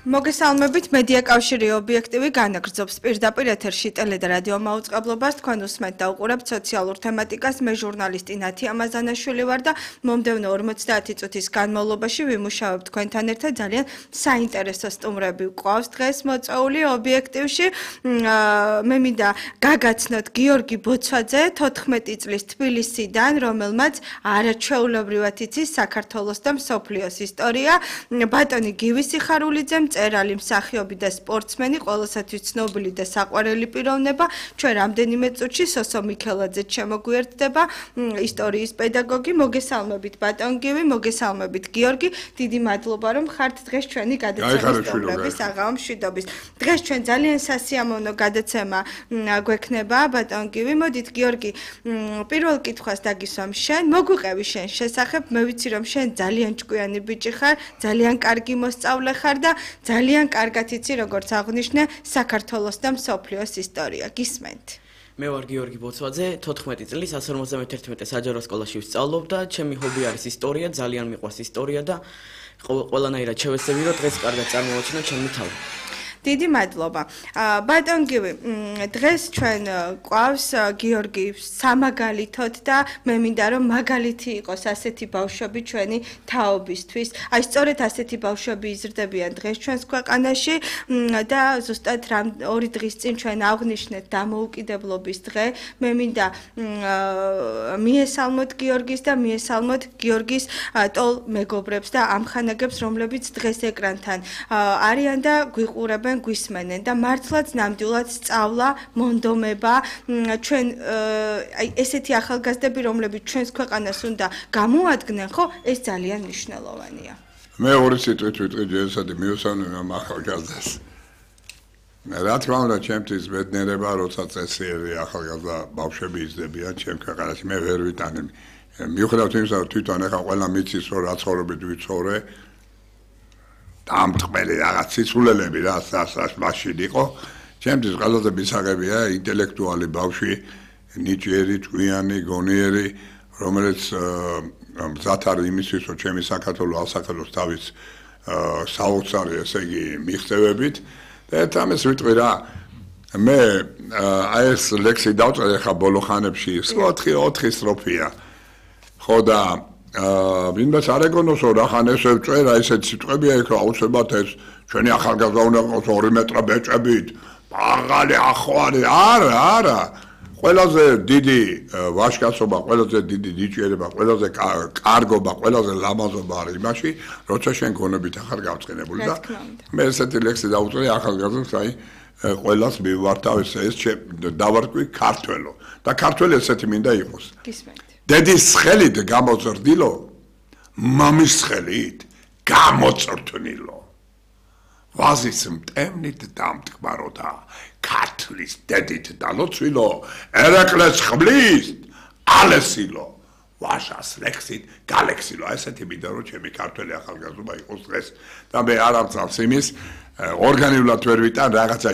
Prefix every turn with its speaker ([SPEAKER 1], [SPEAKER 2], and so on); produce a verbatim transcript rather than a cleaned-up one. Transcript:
[SPEAKER 1] მოგესალმებით, მედია კავშირი ობიექტივი განაგრძობს პირდაპირ ეთერში ტელე და რადიო მაუწყებლობას. თქვენ უსმენთ და უყურებთ სოციალურ თემატიკას. მე ჟურნალისტი ნათი ამაზანაშვილი ვარ და მომდევნო ორმოცდაათი წუთის განმავლობაში ვიმუშავებ თქვენთან ერთად ძალიან საინტერესო სტუმრები გვყავს დღეს მოწვეული ობიექტივში. მე მინდა გაგაცნოთ გიორგი ბოცვაძე, თოთხმეტი წლის თბილისიდან, რომელმაც არაჩვეულებრივად იცის საქართველოს და მსოფლიოს ისტორია. ბატონი გივი სიხარულიძე, მწერალი, მსახიობი და სპორტსმენი, ყველასათვის ცნობილი და საყვარელი პიროვნება. ჩვენ რამდენიმე წუთში სოსო მიქელაძე შემოგვიერთდება, ისტორიის პედაგოგი. მოგესალმებით ბატონ გივი, მოგესალმებით გიორგი. დიდი მადლობა რომ ხართ დღეს ჩვენი გადაცემის სტუმრების საღამო მშვიდობის. დღეს ჩვენ ძალიან სასიამოვნო გადაცემა გვექნება ბატონ გივი. მოდით გიორგი, პირველ კითხვას დაგისვამ შენ, მოგვიყევი შენ შესახებ. მე ვიცი რომ შენ ძალიან ჭკვიანი ბიჭი ხარ, ძალიან კარგი მოსწავლე ხარ და ძალიან კარგად იცი როგორც აღნიშნე საქართველოს და მსოფლიოს ისტორია. გისმენთ.
[SPEAKER 2] მე ვარ გიორგი ბოცვაძე, თოთხმეტი წლის ასი ორმოცდაათი საჯარო სკოლაში ვსწავლობ და ჩემი ჰობი არის ისტორია, ძალიან მიყვარს ისტორია და ყველანაირად შევეცდები რომ დღეს კარგად წარმოვაჩინო ჩემი თავი.
[SPEAKER 1] დიდი მადლობა. ბატონ გივი, დღეს ჩვენ გვყავს გიორგი სამაგალითოდ და მე მინდა რომ მაგალითი იყოს ასეთი ბავშვები ჩვენი თაობისთვის. აი სწორედ ასეთი ბავშვები იზრდებიან დღეს ჩვენს ქვეყანაში და ზუსტად ორი დღის წინ ჩვენ აღვნიშნეთ დამოუკიდებლობის დღე. მე მინდა მიესალმოთ გიორგის და მიესალმოთ გიორგის ტოლ მეგობრებს და ამხანაგებს, რომლებიც დღეს ეკრანთან არიან და გვიყურებენ, გვისმენენ და მართლაც ნამდვილად სწავლა, მონდომება, ჩვენ აი ესეთი ახალგაზრდები, რომლებიც ჩვენს ქვეყანას უნდა გამოადგნენ, ხო, ეს ძალიან მნიშვნელოვანია.
[SPEAKER 3] მე ორი სიტყვით ვიტყვი ჯერისადი მიუსავნებ ამ ახალგაზრდას. რა თქმა უნდა, ჩემთვის ბედნიერება, როცა წესიერი ახალგაზრდა ბავშვები იზრდებიან ჩემ ქვეყანაში, მე ვერ ვიტანებ. მიუხედავად იმისა, რომ თვითონ ახლა ყველა მიცის, რომ რა ცხოვრებით ვიცხოვრე, დამტყმელი რაღაც სიცულელები რა მაშინ იყო. ჩემთვის ყველაზე მისაღებია ინტელექტუალი ბავშვი, ნიჭიერი, ჭკვიანი, გონიერი, რომელიც მზად არის იმისთვის, რომ ჩემი საქართველო ასახელოს თავის საოცარი, ესე იგი, მიღწევებით. და ერთ ამას ვიტყვი რა, მე აი ეს ლექსი დავწერე ხა ბოლო ხანებში, ოთხი ოთხი სტროფია. ხო და ვინმეს არ ეგონოს რომ რახან ესე ვწერა, ესეთ სიტყვებია იქ აუცილებლად ეს ჩვენი ახალგაზრდა უნდა იყოს ორი მეტრა ბეჭებით, მაღალი ახვარი, არა, არა. ყველაზე დიდი ვაჟკაცობა, ყველაზე დიდი ნიჭიერება, ყველაზე კარგობა, ყველაზე ლამაზობა არის იმაში, როცა შენ გონებით ახარ გავწყენებული და მე ესეთი ლექსი დავწერე ახალგაზრდებს, აი ყველას მივართავ ეს ეს დავარკვი ქართველო და ქართველი ესეთი მინდა იყოს.
[SPEAKER 1] გისმენთ.
[SPEAKER 3] დედის ხელით გამოწრდილო, მამის ხელით გამოწრთნილო. ვაზის მტევნით დამტკბარო და ქართლის დედით დალოცვილო, ერეკლეს ხმლის ალესილო, ვაშას ლექსით გალექსილო. ესეთი მინდა რომ ჩემი ქართველი ახალგაზრდობა იყოს დღეს და მე არ ამწავს იმის ორგანულად ვერ ვიტან რაღაცა